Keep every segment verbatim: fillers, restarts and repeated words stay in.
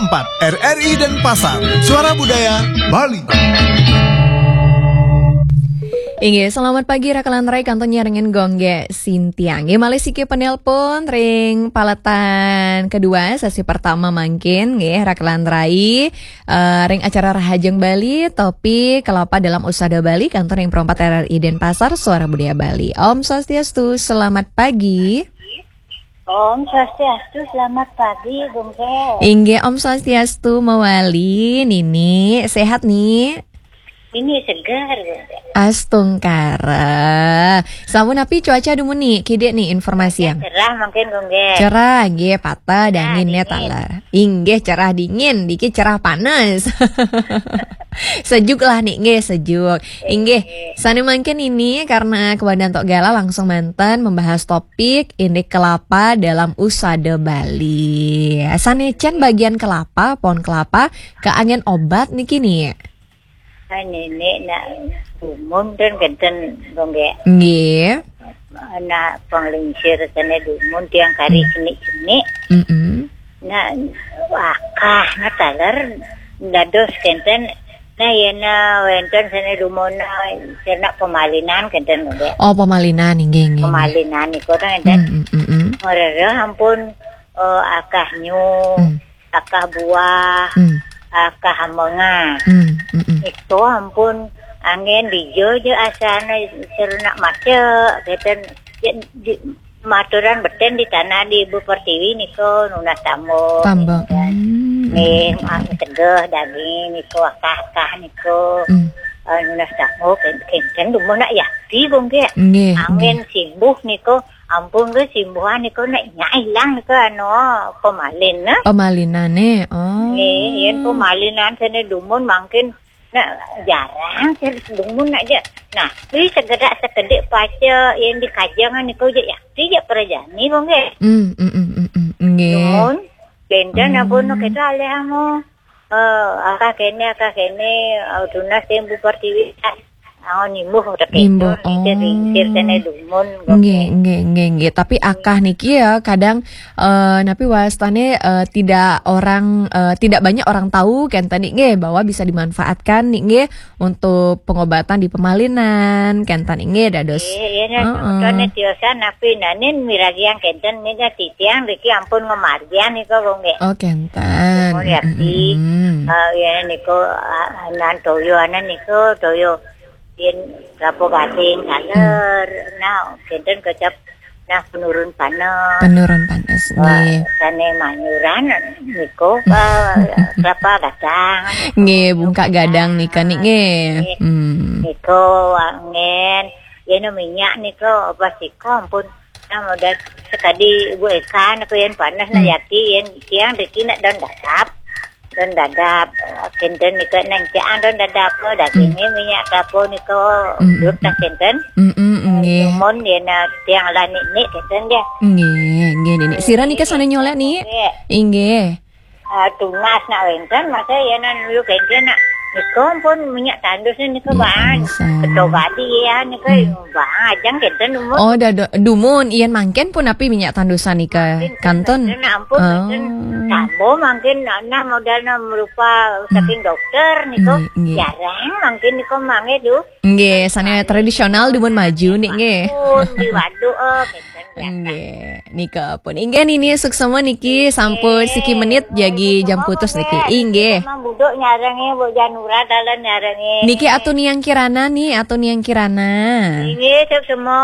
empat, R R I Denpasar, Suara Budaya Bali. Inggih, selamat pagi, Raka lan Rai, kantun nyarengin Gung Gé Sintiang. Nggih, malih siki penelpon ring paletan kedua, sesi pertama mangkin, nggih, Raka lan Rai, eh, ring acara Rahajeng Bali, topik kelapa dalam usada Bali, kantun ring perempat R R I Denpasar, Suara Budaya Bali. Om Swastiastu, selamat pagi. Om Swastiastu, selamat pagi, Gung Gé. Inggih, Om Swastiastu, mawali, Nini, sehat, Ni? Ini segar, Gung Gé. Astungkara. Sampun napi cuaca dumun, Ni? Kidik, Ni, informasiang. Cerah mungkin, Gung Gé. Cerah, nggih, pateh, cerah, dingin, ya, dingin. Taler. Inggih, cerah dingin, niki cerah panas. Sejuk lah, Ni, nggih, sejuk. Inggih, sané mangkin ini karena kebetulan Tok Gala langsung manten membahas topik indik kelapa dalam usada Bali. Sané cén bagian kelapa, pohon kelapa, kaanggén obat niki, Ni? Ah, Nini nak dumun ten kenten, Gung Gé. Nggih. Nak panglingsir sané dumun tiang kari, hmm, cenik-cenik. Mm-mm. Nah, akah, nah, taler dados kenten. Nah, yén, nah, wénten sané dumun, nah, cerna pemalinan kenten, Gung Gé. Oh, pemalinan, inggih, inggih, inggih. Pemalinan niku, nah, kenten. Mm, mm, mm, mm. Ngrereh ampun, eh, akah nyu, hmm, akah buah, hmm, akah amengah. Hmm, mm, mm. Itu ampun anggén dija ja asané cerna maca, kenten. Ya, di, maturan beten di tanah di Ibu Pertiwi niku nunas tambok. Tambok. Kenten. Hmm. Nggih, ah, tegeh daging niku, akah-akah niku. Hmm. Eh, nunas tambok, ken-, kenten dumun nak yakti, Gung Gé. Nggih, anggén nggih. Simbuh niku, ampun, nggih, simbuhan niku nak nyak ilang niku anu pemalin, nah. Pemalinané, oh. Nggih, yén pemalinan sané dumun mangkin nak jarang sih dumun nak ja. Nah, kuwi segedak sekedik paca yén dikajang niku ja yakti ja prajani, Gung Gé. Hmm, mm, mm, mm, mm, nggih. Dumun, benten, hmm, ampun, kita alih amo. Eh, akah kéné, akah kéné, eh, tunas sing Bu Pertiwi, angon nimbuh rek. Nimbuh, itu, oh. Ringkir, ringkir kéné dumun, nggih, nggih, nggih, nggih. Tapi akah niki ya, kadang, eh, napi wastané, eh, tidak orang, eh, tidak banyak orang tahu, kenten, Ni, nggih, bahwa bisa dimanfaatkan, Ni, nggih, untuk pengobatan di pemalinan, kenten, Ni, nggih, dados. Nggih, iya, nah, heeh. Semeton tiosan napi nanin miragiang kenten, Ni, nah, titiang niki ampun ngamargiang niku, Gung Gé. Oh, kenten. Nuwun yakti. Mm, mm, mm. Eh, ya, niku, ah, anan toya, anan niku toya. Yén kelapa gading, hmm, taler. Nah, kenten kecap, nah, penurun panas. Penurun panas, wah, nggih. Sané manyuran niku, eh, kelapa gadang. Nggih, bungkak gadang nika, Ni, nggih. Nggih. Hmm. Niku anggén, yén minyak niku, apa sih, ampun. Nah, modal sekadi Ibu Eka niku yén panas, nah, hmm, yakti, yén tiang niki nak daun dadap. Daun dadap, eh, kenten niku nak caan daun dadap, oh, dagingnya, hmm, minyak kelapa niku, hmm, hmm, duh, tak kenten. Hmm, hmm, eh, nggih. Dumun yén, nah, tiang lah Nini kenten ya. Nggih, nggih, Nini. Sira nika sané nyolek, Ni? Nggih. Inggih. Ah, tunas nak wénten, masa ya nan lu kenten nak. Niku pun minyak tandus niku, minyak bahan. Tandusan. Keto gadi ya niku, hmm, bahan ajang kenten dumun. Oh, dah, dah, dumun, yén mangkin pun napi minyak tandusan nika? Mangkin kenten. Kenten, ampun, oh, kenten. Tambah mangkin, nah, modalnya merupa, hmm, saking dokter niku. Nggih, nggih. Jarang mangkin niku mangke, duh. Nggih, sané tradisional dumun maju, Ni, nggih. Pun di waduk, oh, kenten. Nggih, nika pun. Inggih, Nini, suksma niki, sampun siki menit jagi jam putus niki. Inggih. Mang buduk nyarengé, Bu Janura dalan nyarengé. Niki Atu Niang Kirana, Ni, Atu Niang Kirana. Inggih, suksma,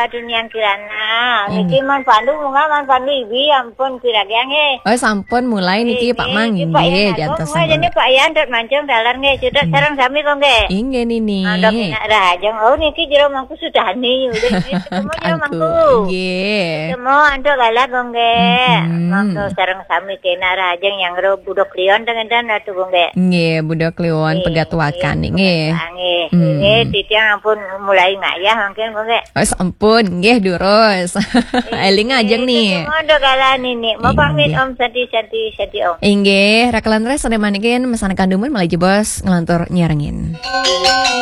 Atu Niang Kirana. Niki, inggih. Man Pandu, munggah Man Pandu ibi, ampun, piragiang, nggih. Oh, sampun mulai niki, Pak Mang, inggih, Pak Yan, nggih, jantos munggah sampun. Jani Pak Yan, dot mancung dalan, nggih, sudah, hmm, sareng sami, kok, nggih. Inggih, Nini. Mandok nak rahajeng. Oh, niki jero mangku Sudani, udah, nggih, ketemu jero mangku. Angku, nggih. Ketemu antuk galak, kok, nggih. Mm-mm. Mangku sareng sami kena rahajeng yang ro Budo Kliwon, tengen dan Atu, kok, nggih. Nggih, Budo Kliwon, nggih, pegat wakan, nggih, nggih. Pegat wakan, nggih. Hmm. Nggih, titiang ampun mulai ngayah mangkin, kok, nggih. Oh, sampun, nggih, durus. Nggih, éling ajeng, Ni. Ketemu antuk galak, Nini. Mau pamit, inggih. Om, santi, santi, santi, Om. Inggih, Raka lan Rai sané mangkin, mesan kandumun malih jebos ngelantur nyarengin.